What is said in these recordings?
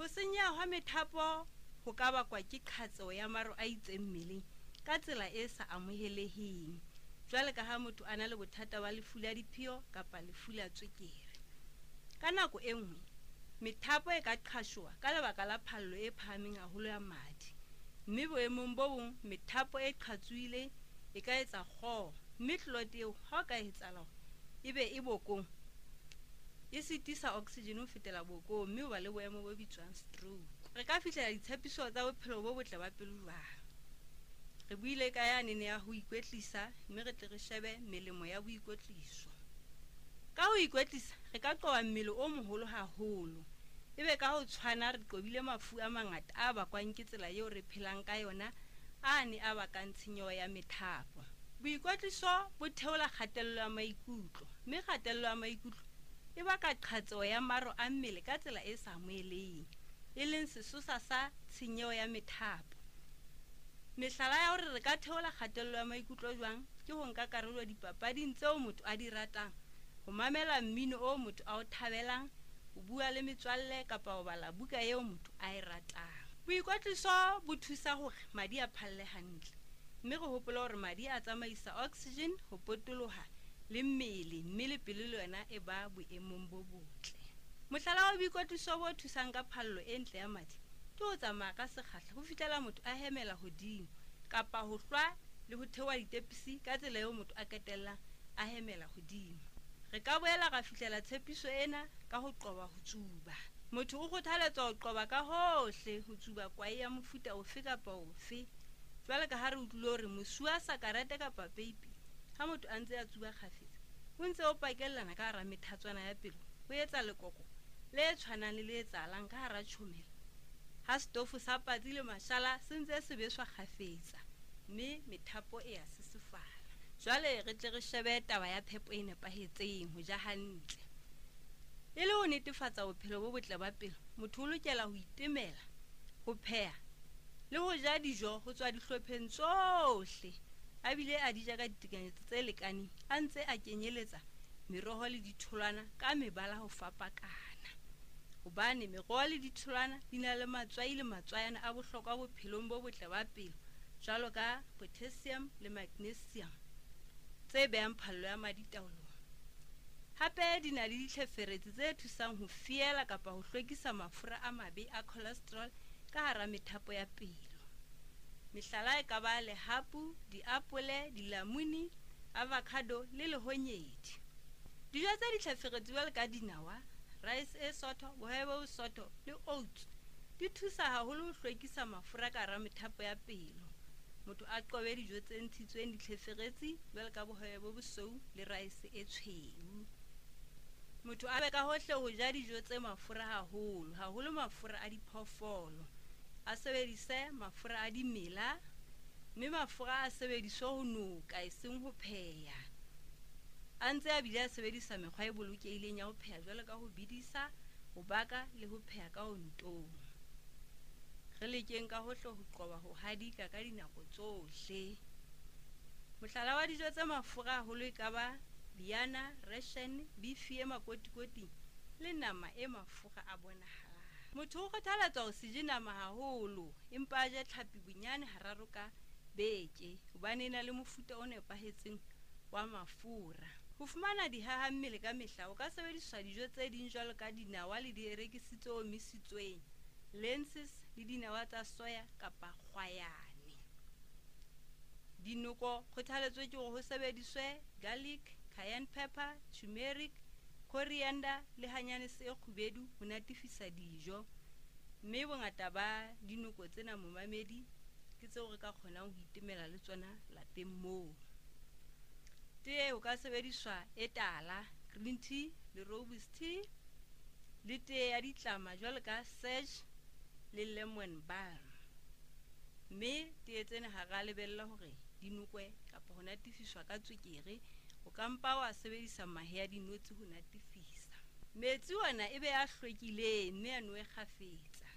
Ho senyeha hwa methapo ho ka bakwa ke qhatseho ya maro a itseng mmeleng ka tsela e sa amoheleheng, jwale ka ha motho a na le bothata ba lefu la diphio kapa lefu la tswekere. Ka nako e nngwe, methapo e ka qhashoha ka lebaka la phallo e phahameng haholo ya madi, mme boemong bo bong methapo e qhatsohileng e ka etsa kgoho, mme clot eo ha o ka etsahala hore ebe e bokong, e sitisa oxygen ho fetela bokong, mme o ba le boemo bo bitswang stroke. Re ka fihlela ditshepiso tsa bophelo bo botle ba pelo jwang? Re buile ka yanene ya ho ikwetlisa, mme re tle re shebe melemo ya boikwetliso. Ka ho ikwetlisa re ka qoba mmele o moholo haholo, ebe ka ho tshwana re qobile mafu a mangata a bakwang ke tsela eo re phelang ka yona, a ne a bakang tshenyeho ya methapo. Boikwetliso bo theola kgatello ya maikutlo, mme kgatello ya maikutlo e baka qhatseho ya maro a mmele ka tsela e sa amoheleheng, e leng sesosa sa tshenyeho ya methapo. Mehlala ya hore re ka theola kgatello ya maikutlo jwang ke ho nka karolo dipapading tseo motho a di ratang, ho mamela mmino o motho a o thabelang, ho bua le metswalle kapa ho bala buka eo motho a e ratang. Boikwetliso bo thusa hore madi a phalle hantle, mme re hopole hore madi a tsamaisa oxygen ho potoloha le mmele, mme le pelo le yona e ba boemong bo botle. Mohlala wa boikwetliso bo thusang ka phallo e ntle ya madi ke ho tsamaya ka sekgahla ho fihlela motho a hemela hodimo, kapa ho hlwa le ho theoha ditepisi ka tsela eo motho a qetellang a hemela hodimo. Re ka boela ra fihlela tshepiso ena ka ho qoba ho tsuba. Motho o kgothaletswa ho qoba ka hohle ho tsuba kwae ya mofuta ofe kapa ofe. Jwale ka ha re utlwile hore mosi wa sakarete kapa peipi ha motho a ntse a tsuba kgafetsa, o ntse o pakellana ka hara methatswana ya pelo, ho etsa lekoko le tshwanang le le etsahalang ka hara tjhomela ha setofo sa patsi le mashala se ntse se beswa kgafetsa, mme methapo e a sesefala. Jwale re tle re shebe taba ya phepo e nepahetseng, ho ja hantle. E le ho netefatsa bophelo bo botle ba pelo, motho o lokela ho itemela, ho pheha le ho ja dijo ho tswa dihlopheng tsohle, a bile a di ja ka ditekanyetso tse lekaneng, a ntse a kenyeletsa meroho le ditholwana ka mebala ho fapakana. Hobane meroho le ditholwana di na le matswai le matswayana a bohlokwa bophelong bo botle ba pelo, jwalo ka potassium le magnesium tse behang phallo ya madi taolong. Hape di na le ditlheferetsi tse thusang ho fiela kapa ho hlwekisa mafura a mabe a cholesterol ka hara methapo ya pelo. Mehlala e ka ba lehapu, diapole, dilamuni, avocado le lehonyedi. Dijo tse ditlheferetsi jwalo ka dinawa, rice e sotho, bohobe bo bosotho le oats di thusa haholo ho hlwekisa mafura ka hara methapo ya pelo. Motho a qobe dijo tse ntshitsweng ditlheferetsi jwalo ka bohobe bo bosweu le rice e tshweu. Motho a be ka hohle ho ja dijo tse mafura haholo, haholo mafura a diphoofolo. A sebedise mafura a dimela, mme mafura a sebediswe ho noka eseng ho pheha. A ntse a bile a sebedisa mekgwa e bolokehileng ya ho pheha jwalo ka ho bedisa, ho baka le ho pheha ka ontong. Re lekeng ka hohle ho qoba ho hadika ka dinako tsohle. Mohlala wa dijo tse mafura haholo e ka ba biana, ration, bifi e makotikoting le nama e mafura a bonahalang. Motho o kgothaletswa ho se je nama haholo, empa a je tlhapi bonyane hararo ka beke, hobane e na le mofuta o nepahetseng wa mafura. Ho fumana dihaha mmele ka mehla, o ka sebediswa dijo tse ding jwalo ka dinawa le dierekisi tse omisitsweng, lentils le dinawa tsa soya kapa kgwayane. Dinoko kgothaletso ke hore ho sebediswe garlic, cayenne pepper, turmeric, coriander le hanyanese e kgubedu ho natefisa dijo. Mme bongata ba dinoko tsena momamedi ke tseo re ka kgonang ho itemela le tsona lapeng moo. Tee ho ka sebediswa e tala, green tea le rooibos tea, le tee ya ditlama jwalo ka sage le lemon balm. Mme tee tsena ha re a lebella hore di nokwe kapa ho natefiswa ka tswekere, o ka mpa wa sebedisa mahe a dinotshi ho natefisa. Metsi ona e be a hlwekileng mme a nowe kgafetsa,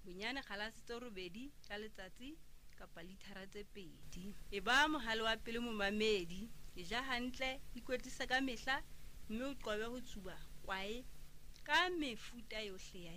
bonyane kgalase tse 8 ka letsatsi kapa lithara tse 2. E ba mohale wa pele momamedi, e ja hantle, ikwetlise ka mehla mme o qobe ho tsuba kwae ka mefuta yohle ya